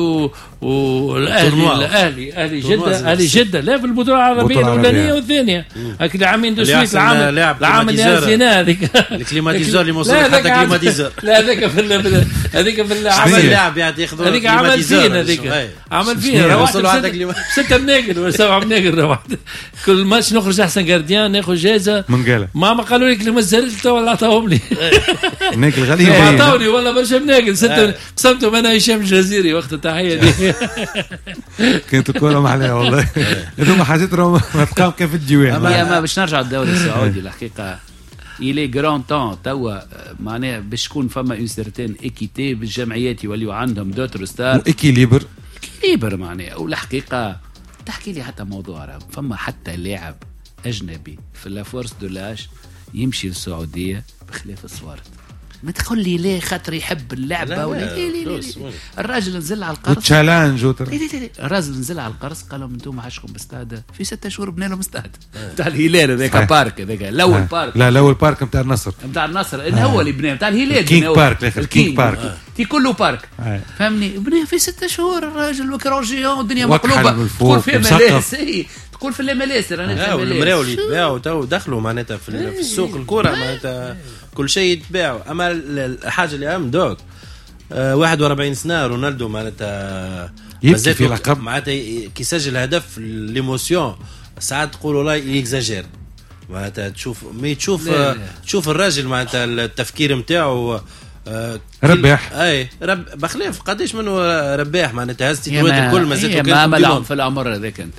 Speaker 2: والاهلي الاهلي اهلي جده اهلي جده لا في البطولة العربية الاولانية والثانية هاك العامين de suite العام العام اللي هزيناه هذيك
Speaker 4: ال climatiseur اللي موصل حتى climatiseur
Speaker 2: لا هذاك في هذيك في
Speaker 4: العمل اللاعب يعني ياخذوا
Speaker 2: هذيك عمل فينا هذيك عمل فينا
Speaker 4: وصلوا حتى
Speaker 2: ستة مناقل ولا سبعة مناقل روحت كل ماتش نخرج احسن gardien ناخذ جائزة
Speaker 1: من
Speaker 2: ما قالوا لك ما زالت تو ولا عطاهم لي
Speaker 1: مناقل غاليين
Speaker 2: عطاوني والله برشا مناقل ستة قسمتهم انا هشام الجزيري وقت التحية دي
Speaker 1: كانت الكورة محلاها والله. هذوما حاجات راهم ما تلقاهم كان في الديوان.
Speaker 3: يا ما باش نرجع للدوري السعودي الحقيقة il est grand temps توا معناها باش تكون فما une certaine équité بالجمعيات يوليو عندهم d'autres stars
Speaker 1: équilibre
Speaker 3: équilibre معناها. والحقيقة تحكي لي حتى موضوع راه فما حتى لاعب اجنبي في la force de l'âge يمشي للسعودية بخلاف الصوارد. ما تقول لي ليه خاطر يحب اللعبة ولا لا لا لا. الراجل نزل على القرص
Speaker 1: challenge
Speaker 3: لا لا لا. الراجل نزل على القرص قال لهم انتم عاشكم باستاد في ستة شهور بنى لهم استاد نتاع الهلال هذاك parc هذاك الاول parc
Speaker 1: لا الاول parc نتاع النصر
Speaker 3: نتاع النصر ان هو اللي بناه نتاع الهلال
Speaker 1: King Park الاخر King Park
Speaker 3: تي كله parc فهمني بناه في ستة شهور الراجل و écran géant والدنيا مقلوبة تقول في MLS تقول في ال MLS
Speaker 4: رانا في المراول اللي يتباعوا تو دخلوا معناتها في السوق الكره معناتها كل شيء يتباع. اما الحاجة اللي اهم دوك آه واحد وأربعين سنة رونالدو معناتها
Speaker 1: يبكي في لقب
Speaker 4: معناتها كي سجل هدف l'émotion ساعات تقول والله il exagère معناتها تشوف mais تشوف لا لا. تشوف الراجل معناتها التفكير نتاعو آه
Speaker 1: رباح
Speaker 4: اي رب بخلاف قداش منه رباح معناتها هز تيتوات الكل ما زادوا
Speaker 3: كان ما في العمر هذاك انت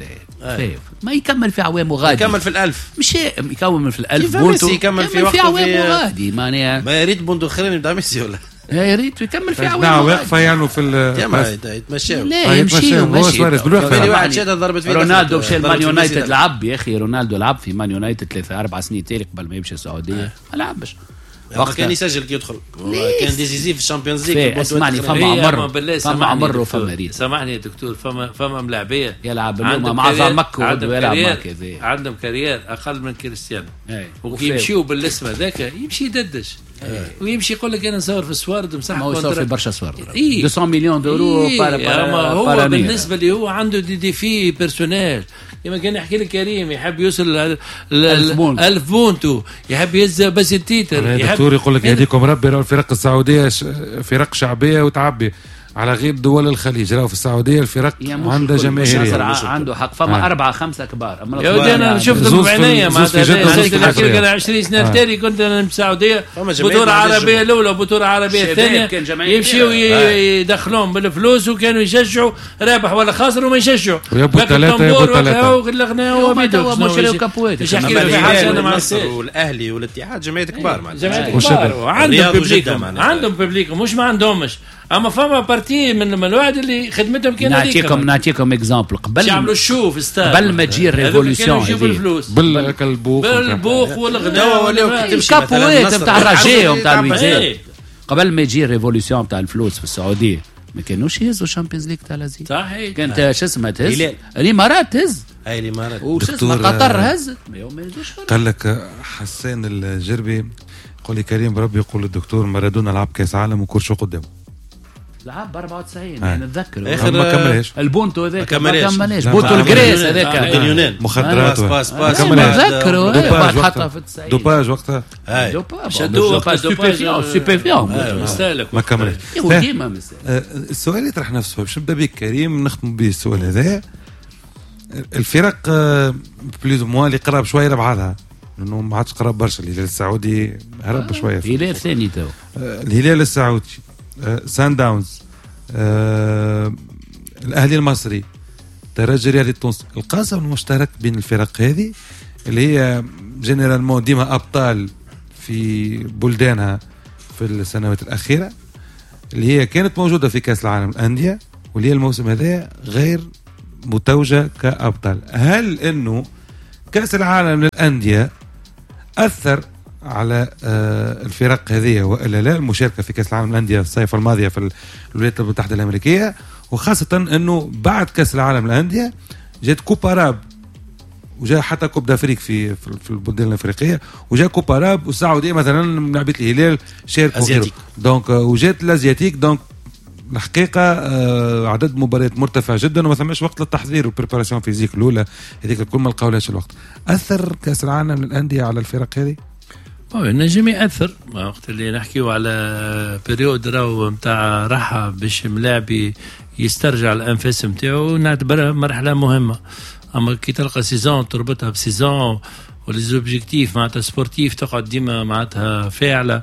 Speaker 3: ما يكمل في عوامه غادي
Speaker 4: يكمل في الألف
Speaker 3: مش يكمل في الألف بونتو
Speaker 4: يكمل في وقته
Speaker 3: في عوامه غادي معناها
Speaker 4: ما يريد بونتو اخرين نتاع ميسي ولا
Speaker 3: يا ريت يكمل في عوامه
Speaker 1: نعم واقفة يعني في
Speaker 4: يتمشاو
Speaker 3: لا يمشي
Speaker 1: ماشي
Speaker 4: واحد شاد ضربت فيه
Speaker 3: رونالدو مشى المان يونايتد لعب يا اخي رونالدو لعب في مان يونايتد ثلاثة أربع سنين تالي قبل ما يمشي السعودية ما لعبش
Speaker 4: وقت كان يسجل كي يدخل كان décisif في ال Champions League.
Speaker 3: اسمعني فما عمر فما عمر وفما ريت
Speaker 2: سامحني يا دكتور فما فما ملاعبيه
Speaker 3: يلعب اليوم مع ضمك ويلعب مع كذا
Speaker 2: عندهم carrière اقل من كريستيانو وكي يمشيو بالاسم هذاك يمشي يددش ويمشي يقول لك انا نصور في السوارد مسح
Speaker 3: ما هو يصور في برشا سوارد مئتين مليون d'euros par par
Speaker 2: هو بالنسبة لي هو عنده des défis personnels كما كان يحكي لك كريم يحب يوصل ألف بونتو يحب يهز بس ال titre
Speaker 1: الدكتور يقول لك يهديكم ربي راهو الفرق السعودية فرق شعبية وتعبي على غير دول الخليج راهو في السعودية الفرق عندها جماهيرية
Speaker 3: عنده حق فما آه. أربعة خمسة كبار
Speaker 2: يا ودي أنا شفتهم بعينيا معناتها عشرين سنة تالي كنت أنا في السعودية بطولة عربية الأولى وبطولة عربية الثانية يمشيوا يدخلوهم بالفلوس وكانوا يشجعوا رابح ولا خاسر وما يشجعوا
Speaker 1: يبوا ثلاثة يبوا ثلاثة
Speaker 2: والغناء وبيدو
Speaker 3: مش
Speaker 4: النصر والأهلي والاتحاد جمعيات كبار
Speaker 2: معناتها جمعيات كبار عندهم public عندهم public مش ما عندهمش اما فما partie من الواحد اللي خدمتهم كان
Speaker 3: نعطيكم نعطيكم exemple قبل
Speaker 2: يعملوا ال show في ستاد
Speaker 3: قبل ما تجي ال révolution
Speaker 2: بالفلوس
Speaker 1: بالبوق
Speaker 2: بالبوق والغناء
Speaker 3: الكابوات نتاع الرجاء ونتاع الوداد قبل ما يجي ال révolution نتاع الفلوس في السعودية ما كانوش يهزوا ال Champions League تاع l'Asie
Speaker 2: صحيح
Speaker 3: كانت شو اسمها تهز الامارات تهز
Speaker 4: اي الامارات
Speaker 3: وش اسمها قطر هزت ما يهزوش.
Speaker 1: قال لك حسان الجربي قال لي كريم بربي يقول للدكتور مارادونا لعب كاس عالم وكرشو قدامه
Speaker 3: لعب أربعة وتسعين يعني نتذكر
Speaker 4: اخر
Speaker 1: ما كملهاش
Speaker 3: البونتو هذاك ما كملهاش بونتو الجريس هذاك
Speaker 4: اليونان
Speaker 1: مخدرات
Speaker 4: passe passe
Speaker 3: نتذكروا بعد حطها في التسعين
Speaker 1: dopage وقتها
Speaker 3: dopage dopage stupéfiant
Speaker 1: ما كملهاش
Speaker 3: ديما
Speaker 1: السؤال اللي يطرح نفسه باش نبدا بك كريم نختم به السؤال هذا الفرق plus ou moins اللي قراب شوية لبعضها، لانه ما عادش قراب برشا. الهلال السعودي هرب شوية،
Speaker 3: الهلال ثاني تو،
Speaker 1: الهلال السعودي، سان داونز، الاهلي المصري، الترجي الرياضي التونسي. القاسم المشترك بين الفرق هذه اللي هي généralement ديما ابطال في بلدانها في السنوات الاخيرة، اللي هي كانت موجودة في كاس العالم الاندية واللي هي الموسم هذا غير متوجه كابطال. هل انه كاس العالم للاندية اثر على الفرق هذه والا لا؟ المشاركة في كاس العالم للاندية الصيف الماضية في الولايات المتحدة الامريكية، وخاصة انه بعد كاس العالم للاندية جات Coupe arabe وجاء حتى Coupe d'Afrique في في البلدان الافريقية، وجاء Coupe arabe والسعودية مثلا لعبه الهلال شاركوا donc، وجات l'asiatique. donc الحقيقة عدد مباريات مرتفع جدا وما ثماش وقت للتحضير وال préparation physique الاولى هذيك الكل ما لقاولهاش الوقت. اثر كاس العالم للاندية على الفرق هذه؟
Speaker 2: نجم ياثر وقت اللي نحكيو على période راهو نتاع راحة باش ملاعبي يسترجع الانفاس نتاعو، نعتبرها مرحلة مهمة. اما كي تلقى saison تربطها ب saison و les objectifs معناتها sportifs تقعد ديما معناتها فاعله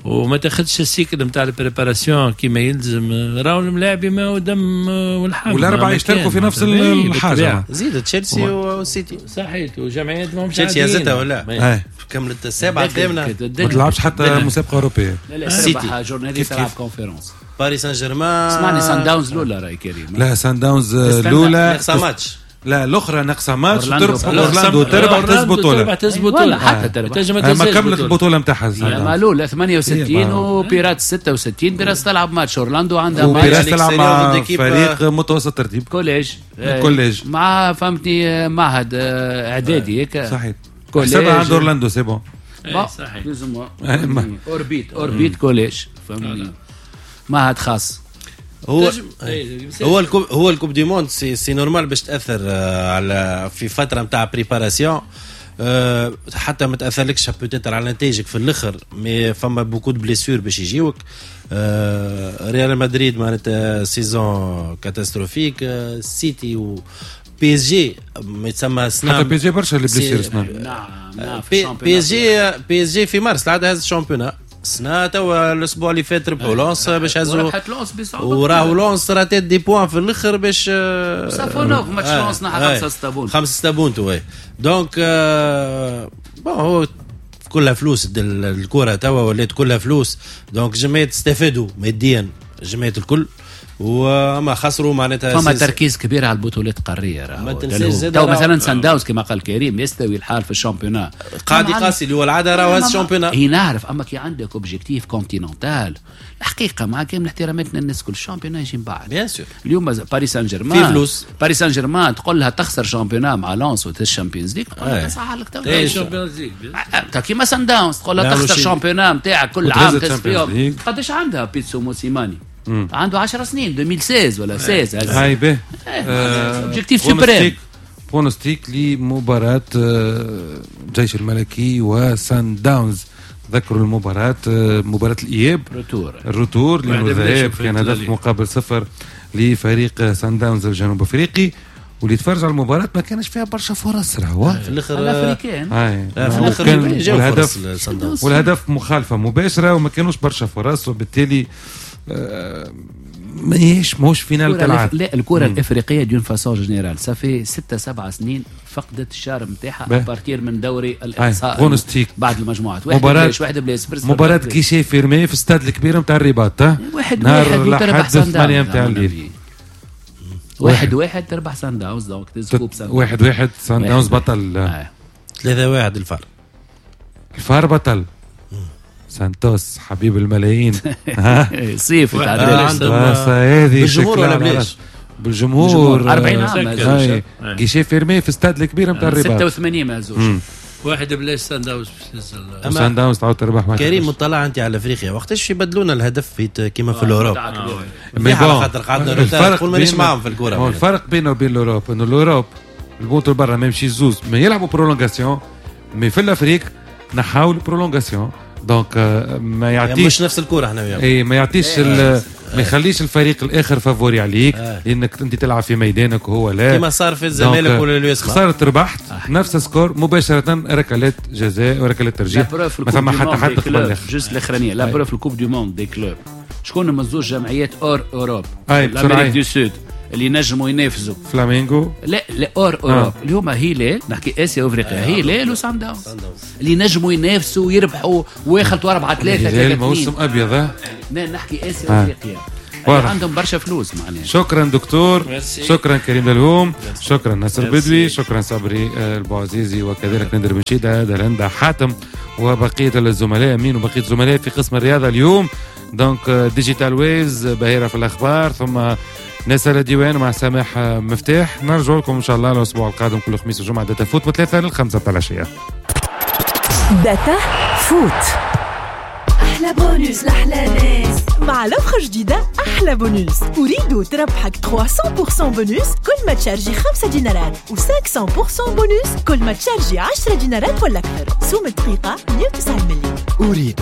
Speaker 2: وما تاخذش ال cycle نتاع ال préparation كيما يلزم، راهو الملاعبي ما هو دم والحم
Speaker 1: والاربعة يشتركوا في نفس الحاجة.
Speaker 4: زيد تشيلسي والسيتي
Speaker 2: صحيت وجمعيات ماهمش
Speaker 4: تشيلسي هزتها ولا كملت السابعة الثامنة
Speaker 1: ما تلعبش حتى مسابقة اوروبية.
Speaker 3: لا لا السيتي journée تلعب conférence.
Speaker 4: باريس سان جيرمان
Speaker 3: اسمعني سان داونز الاولى راي كريم.
Speaker 1: لا سان داونز الاولى
Speaker 4: ناقصه ماتش، لا
Speaker 1: الاخرى ناقصه ماتش، تربح اورلاندو تربح تهز بطوله،
Speaker 2: تربح تهز بطوله
Speaker 3: حتى تربح
Speaker 1: ما كملت البطولة نتاعها.
Speaker 3: ما الاولى ثمانية وستين وبيرات ستة وستين، بيرات تلعب ماتش اورلاندو عندها ماتش،
Speaker 1: وبيرات تلعب مع فريق متوسط ترتيب
Speaker 3: collège
Speaker 1: collège
Speaker 3: مع فهمتني معهد اعدادي هيك
Speaker 1: صحيح حسابها عند اورلاندو c'est bon
Speaker 2: صحيح
Speaker 3: اوربيت اوربيت collège فهمتني معهد خاص.
Speaker 4: هو هو ال coupe هو ال coupe du monde c'est c'est normal باش تاثر على في فترة نتاع préparation، حتى ما تاثرلكش peut-être على نتائجك في الاخر، mais فما beaucoup de blessures باش يجيوك. ريال مدريد معناتها saison catastrophique، سيتي و بي اس جي ما يتسمى سنة
Speaker 1: حتى بي اس جي برشا les blessures سنة.
Speaker 3: نعم نعم
Speaker 4: بي اس جي بي اس جي في مارس العادة هز ال championnat سنة توا الاسبوع اللي فات ربحوا لونس باش هزوا وراهو لونس راتات des points في الاخر باش
Speaker 3: سافونوف ماتش لونس نحى خمسة ستة points
Speaker 4: خمسة ستة points oui. donc bon هو كلها فلوس الكره توا ولات كلها فلوس، donc جمعيات استفادوا ماديا جمعيات الكل وما خسروا معناتها.
Speaker 3: فما تركيز كبير على البطولات القارية راهو. تو مثلا سان داونز كما قال كريم يستوي الحال في ال championnat
Speaker 4: قاعد يقاسي اللي هو العادة راهو هذا ال championnat.
Speaker 3: اي نعرف، اما كي عندك objectif continental الحقيقة مع كامل احتراماتنا الناس كل ال championnat يجي من بعد
Speaker 4: bien sûr.
Speaker 3: اليوم باريس سان جيرمان
Speaker 4: في فلوس،
Speaker 3: باريس سان جيرمان تقول لها تخسر championnat مع لونس وتهز ال Champions League تقول لها صح لك تو كيما سان داونز تقول لها تخسر championnat نتاعك كل عام تهز فيهم. قداش عندها بيتسو موسيماني؟ مم. عنده عشر سنين ألفين وستة عشر ولا ستة عشر.
Speaker 1: هاي به
Speaker 3: objectif suprême.
Speaker 1: pronostic لمباراة الجيش الملكي وسان داونز. ذكروا المباراة مباراة الإياب
Speaker 3: retour
Speaker 1: ال retour لأنه الذهاب كان هدف مقابل صفر لفريق سان داونز الجنوب أفريقي، واللي تفرج على المباراة ما كانش فيها برشا فرص راهو
Speaker 4: في الاخر
Speaker 3: الافريكان
Speaker 4: في الاخر
Speaker 1: والهدف والهدف مخالفة مباشرة وما كانوش برشا فرص، وبالتالي ماهيش ماهوش finale تلعب.
Speaker 3: لا الكره الافريقية d'une façon générale ça fait ستة سبعة سنين فقدت ال charme نتاعها à partir من دوري الاقصاء بعد المجموعات. واحد بلاش واحد بلاش
Speaker 1: مباراة guichet fermé في استاد الكبير نتاع الرباط
Speaker 3: واحد واحد وتربح سان داونز
Speaker 1: نتاع الليل
Speaker 3: واحد واحد تربح سان داونز donc تهز coupe سان
Speaker 1: واحد واحد سان داونز بطل
Speaker 4: ثلاثة واحد الفار
Speaker 1: الفار بطل سانتوس حبيب الملايين.
Speaker 3: صيف
Speaker 1: هذه
Speaker 4: بالجمهور ولا بلاش؟
Speaker 1: بالجمهور
Speaker 3: أربعين عام
Speaker 1: guichet fermé في استاد الكبير نتاع الرباط
Speaker 3: ستة وثمانين ما هزوش
Speaker 2: واحد بلاش سان داونز.
Speaker 1: سان داونز تعاود تربح واحد.
Speaker 4: كريم مطلع انت على افريقيا وقتاش يبدلونا الهدف في كيما في l'Europe؟
Speaker 1: mais
Speaker 4: خاطر قعدنا الفرق مانيش معاهم في الكره.
Speaker 1: الفرق بينه وبين l'Europe انه l'Europe البونتو برا ما يمشي زوز ما يلعبوا prolongation، mais في l'Afrique نحاول prolongation donc ما يعطيش
Speaker 4: مش نفس الكره احنا
Speaker 1: اي ما يعطيش ما يخليش الفريق الاخر favori عليك آه. لانك انت تلعب في ميدانك وهو لا،
Speaker 4: كما صار في الزمالك ولا l'USMA،
Speaker 1: خسرت ربحت آه. نفس score مباشرة ركلات جزاء وركلات ترجيح، ما ثم حتى حد قبل
Speaker 3: juste الاخرانية. la preuve ال coupe du monde des clubs شكون هما زوج جمعيات hors Europe l'Amérique du Sud اللي نجموا ينافسوا؟
Speaker 1: فلامينغو
Speaker 3: لا لا hors Europe آه. اللي هما هلال، نحكي اسيا وافريقيا، آه. هلال وسان داونز اللي نجموا ينافسوا ويربحوا ويخلطوا أربعة ثلاثة
Speaker 1: ثلاثة. موسم ابيض.
Speaker 3: لا نحكي اسيا آه. وافريقيا عندهم برشا فلوس معناها.
Speaker 1: شكرا دكتور، ميرسي. شكرا كريم دلهوم، شكرا ناصر بدوي، شكرا صبري البوعزيزي، وكذلك نادر بنشيدة، دلندا حاتم، وبقية الزملاء امين وبقية الزملاء في قسم الرياضة اليوم. donc Digital Waves باهره في الاخبار، ثم نسأل ديوان مع سامح مفتاح. نرجع لكم ان شاء الله الاسبوع القادم كل خميس وجمعه Data Foot من ثلاثة للخمسة تاع العشية.
Speaker 5: Data Foot
Speaker 7: احلى بونوس لاحلى ناس
Speaker 5: مع l'offre جديدة. احلى بونوس اريد تربحك ثلاثمية بالمية بونوس كل ما تشارجي خمسة دينارات و خمسمية بالمية بونوس كل ما تشارجي عشرة دينارات ولا اكثر. سوم الدقيقة مية وتسعة مليم.
Speaker 8: اريد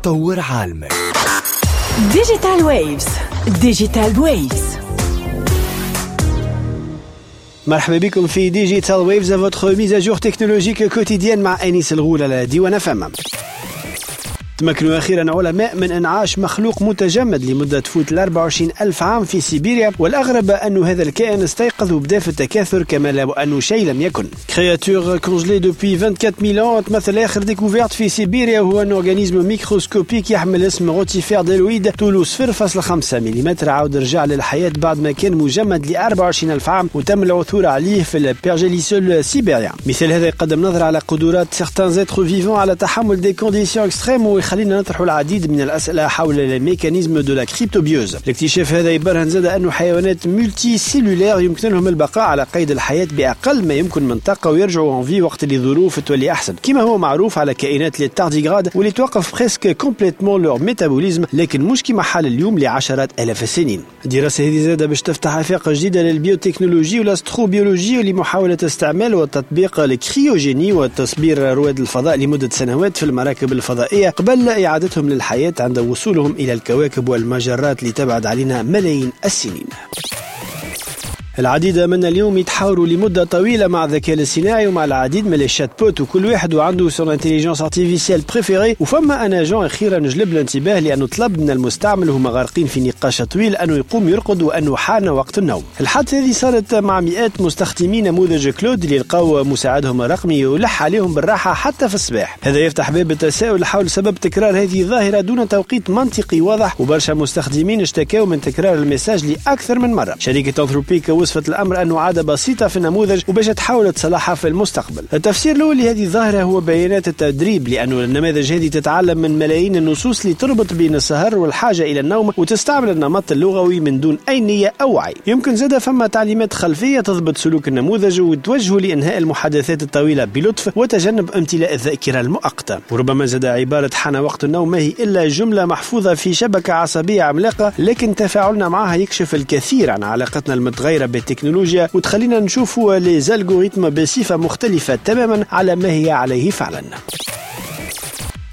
Speaker 8: طور عالمك.
Speaker 5: Digital Waves، Digital Waves.
Speaker 9: مرحبا بكم في Digital Waves، votre mise à jour technologique quotidienne مع انيس الغول على ديوان فم. تمكنوا أخيرا علماء من إنعاش مخلوق متجمد لمدة تفوت ال أربعة وعشرين ألف عام في سيبيريا، والأغرب أن هذا الكائن استيقظ وبدا في التكاثر كما لو أنه شيء لم يكن. créature congelée depuis vingt-quatre mille ans تمثل آخر découverte في سيبيريا، وهو un organisme microscopique يحمل اسم rotifère bdelloïde، طوله صفر فاصلة خمسة ملم، عاود رجع للحياة بعد ما كان مجمد ل أربعة وعشرين ألف عام، وتم العثور عليه في ال pergélisol sibérien. مثال هذا يقدم نظرة على قدرات certains êtres vivants على تحمل des conditions extrêmes، ويخلينا نطرح العديد من الأسئلة حول ال mécanismes de la cryptobiose. الاكتشاف هذا يبرهن زاد أنه حيوانات multicellulaires يمكن لهم البقاء على قيد الحياة بأقل ما يمكن من طاقة ويرجعوا en vie وقت اللي الظروف تولي أحسن، كما هو معروف على كائنات les tardigrades واللي توقف presque complètement leur métabolisme، لكن مش كما حال اليوم لعشرات آلاف السنين. الدراسة هذه زادة باش تفتح آفاق جديدة للبيوتكنولوجي وال astrobiologie لمحاولة استعمال وتطبيق ال cryogénie وتصبير رواد الفضاء لمدة سنوات في المراكب الفضائية قبل إعادتهم للحياة عند وصولهم إلى الكواكب والمجرات اللي تبعد علينا ملايين السنين. العديد من اليوم يتحاوروا لمدة طويلة مع الذكاء الاصطناعي ومع العديد من ال chatbots، وكل واحد وعنده son intelligence artificielle préférée. وفما un agent اخيرا جلب الانتباه لانه طلب من المستعمل وهما غارقين في نقاش طويل انه يقوم يرقد وانه حان وقت النوم. الحادثة هذه صارت مع مئات مستخدمي نموذج Claude اللي لقاو مساعدهم الرقمي يلح عليهم بالراحة حتى في الصباح. هذا يفتح باب التساؤل حول سبب تكرار هذه الظاهرة دون توقيت منطقي واضح، وبرشا مستخدمين اشتكاوا من تكرار ال message لاكثر من مرة. شركة Anthropic وصفت الأمر أنه عادة بسيطة في النموذج وباش تحاول تصلحها في المستقبل. التفسير الأول لهذه الظاهرة هو بيانات التدريب، لأنه النماذج هذه تتعلم من ملايين النصوص اللي تربط بين السهر والحاجة إلى النوم وتستعمل النمط اللغوي من دون أي نية أو وعي. يمكن زادة فما تعليمات خلفية تضبط سلوك النموذج وتوجهه لإنهاء المحادثات الطويلة بلطف وتجنب امتلاء الذاكرة المؤقتة. وربما زاد عبارة حان وقت النوم ما هي إلا جملة محفوظة في شبكة عصبية عملاقة، لكن تفاعلنا معها يكشف الكثير عن علاقتنا المتغيرة بالتكنولوجيا وتخلينا نشوفوا les algorithmes بصفة مختلفة تماما على ما هي عليه فعلا.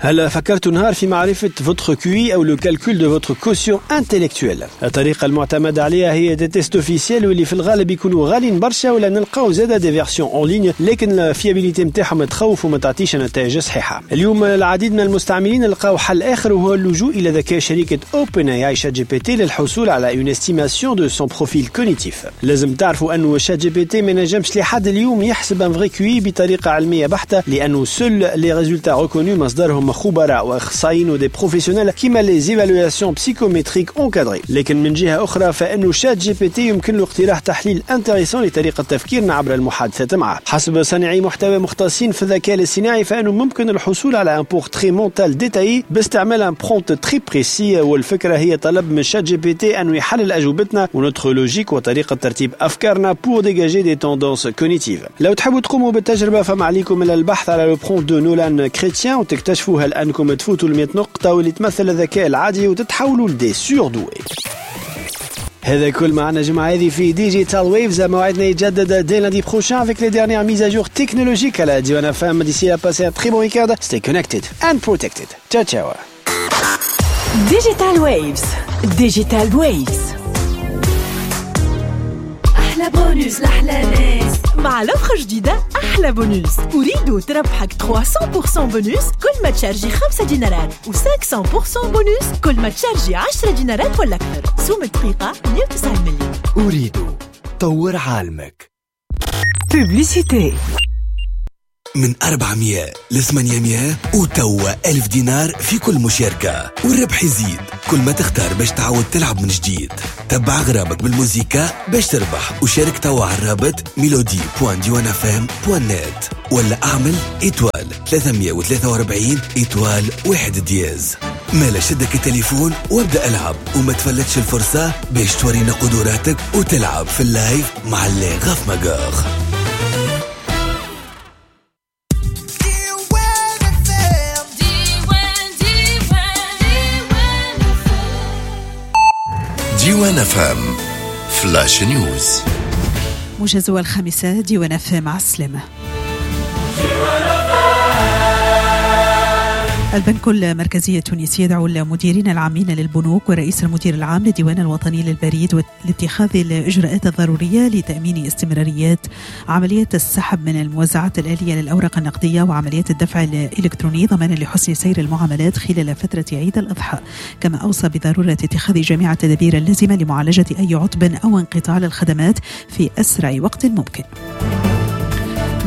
Speaker 9: هل فكرت نهار في معرفة votre QI أو le calcul de votre quotient intellectuel؟ الطريقة المعتمدة عليها هي des tests officiels واللي في الغالب يكونوا غالين برشا، ولا نلقاو زادة des versions en ligne، لكن ال fiabilité نتاعهم تخوف وما تعطيش نتائج صحيحة. اليوم العديد من المستعملين لقاو حل آخر وهو اللجوء إلى ذكاء شركة OpenAI ChatGPT للحصول على une estimation de son profil cognitif. لازم تعرفوا أنه ChatGPT ما نجمش لحد اليوم يحسب un vrai QI بطريقة علمية بحتة، لأنه seuls les résultats reconnus مصدرهم خبراء واخصائيين و des professionnels كيما les évaluations psychométriques encadrées. لكن من جهة اخرى فانه ChatGPT يمكن له اقتراح تحليل intéressant لطريقه تفكيرنا عبر المحادثات معه. حسب صانعي محتوى مختصين في الذكاء الاصطناعي فانه ممكن الحصول على un portrait mental détaillé باستعمال un prompt très précis، والفكرة هي طلب من ChatGPT انه يحلل اجوبتنا و notre logique وطريقه ترتيب افكارنا pour dégager des tendances cognitives. لو تحبوا تقوموا بالتجربة فما عليكم الا البحث على le prompt de Nolan Chrétien وتكتشفوا هل أنكم تفوتوا المئة نقطة واللي تمثل الذكاء العادي وتتحولوا ل des surdoués. هذا كل معنا جمعة هذه في Digital Waves. موعدنا يتجدد dès lundi prochain avec les dernières mises à jour technologiques على ديوان اف ام. D'ici là, passez un très bon week-end. Stay connected and protected. Ciao ciao.
Speaker 5: Digital Waves، Digital Waves،
Speaker 7: احلى بونوس لاحلى ناس.
Speaker 5: مع l'offre جديدة احلى bonus، Ooredoo تربحك ثلاثمية بالمية بونوس كل ما تشارجي خمسة دينارات و خمسمية بالمية بونوس كل ما تشارجي عشرة دينارات ولا اكثر. سوم دقيقة مية وتسعين مليم.
Speaker 8: Ooredoo طور عالمك.
Speaker 5: Publicité.
Speaker 8: من أربعمية ل ثمانمية وتوا ألف دينار في كل مشاركة، والربح يزيد كل ما تختار باش تعاود تلعب من جديد. تبع غرامك بالموزيكا باش تربح، وشارك توا على الرابط ميلودي point ديوان FM point net ولا اعمل étoile ثلاثمية وثلاثة وأربعين étoile واحد dièse. مالا شدك التليفون وابدأ العب وما تفلتش الفرصة باش تورينا قدراتك وتلعب في ال live مع les raf mageurs.
Speaker 10: ديوان FM flash news.
Speaker 11: موجز الخامسة، ديوان FM، مع السلامة. البنك المركزي التونسي يدعو المديرين العامين للبنوك ورئيس المدير العام للديوان الوطني للبريد لاتخاذ الإجراءات الضرورية لتأمين استمراريات عملية السحب من الموزعات الآلية للأوراق النقدية وعمليات الدفع الإلكتروني ضمانا لحسن سير المعاملات خلال فترة عيد الأضحى. كما أوصى بضرورة اتخاذ جميع التدابير اللازمة لمعالجة أي عطب أو انقطاع للخدمات في أسرع وقت ممكن.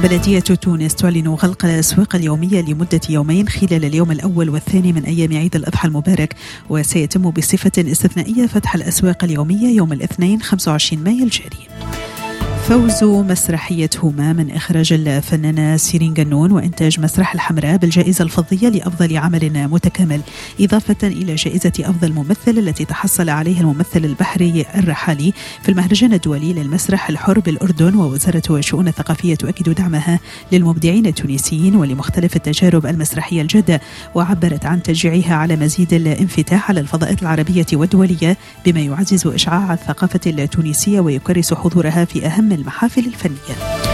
Speaker 11: بلدية تونس تعلن غلق الأسواق اليومية لمدة يومين خلال اليوم الأول والثاني من أيام عيد الأضحى المبارك، وسيتم بصفة استثنائية فتح الأسواق اليومية يوم الاثنين خمسة وعشرين مايو الجاري. فوز مسرحية هما من إخراج الفنانة سيرين جنون وإنتاج مسرح الحمراء بالجائزة الفضية لأفضل عمل متكامل، إضافة إلى جائزة أفضل ممثل التي تحصل عليها الممثل البحري الرحالي في المهرجان الدولي للمسرح الحر بالأردن. ووزارة الشؤون الثقافية تؤكد دعمها للمبدعين التونسيين ولمختلف التجارب المسرحية الجادة، وعبرت عن تشجيعها على مزيد الانفتاح على الفضاءات العربية والدولية بما يعزز إشعاع الثقافة التونسية ويكرس حضورها في أهم المحافل الفنية.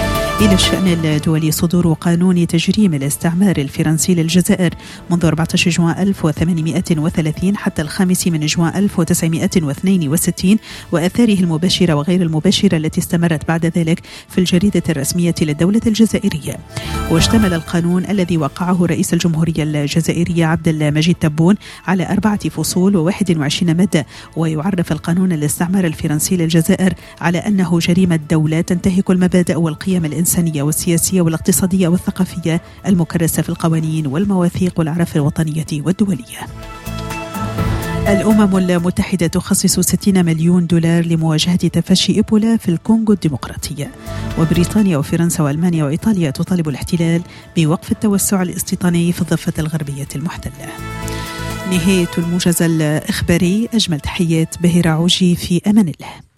Speaker 11: إلى الشأن الدولي، صدور قانون تجريم الاستعمار الفرنسي للجزائر منذ أربعة عشر جوان ألف وثمانمائة وثلاثين حتى الخامس من جوان ألف وتسعمائة واثنين وستين وآثاره المباشرة وغير المباشرة التي استمرت بعد ذلك في الجريدة الرسمية للدولة الجزائرية. واشتمل القانون الذي وقعه رئيس الجمهورية الجزائرية عبد المجيد تبون على أربعة فصول وواحد وعشرين مادة، ويعرف القانون الاستعمار الفرنسي للجزائر على أنه جريمة دولة تنتهك المبادئ والقيم الإنسانية والسياسية والاقتصادية والثقافية المكرسة في القوانين والمواثيق والأعراف الوطنية والدولية. الأمم المتحدة تخصص ستين مليون دولار لمواجهة تفشي إيبولا في الكونغو الديمقراطية. وبريطانيا وفرنسا وألمانيا وإيطاليا تطالب الاحتلال بوقف التوسع الاستيطاني في الضفة الغربية المحتلة. نهاية الموجز الإخباري، أجمل تحيات بهيرة عوجي، في أمان الله.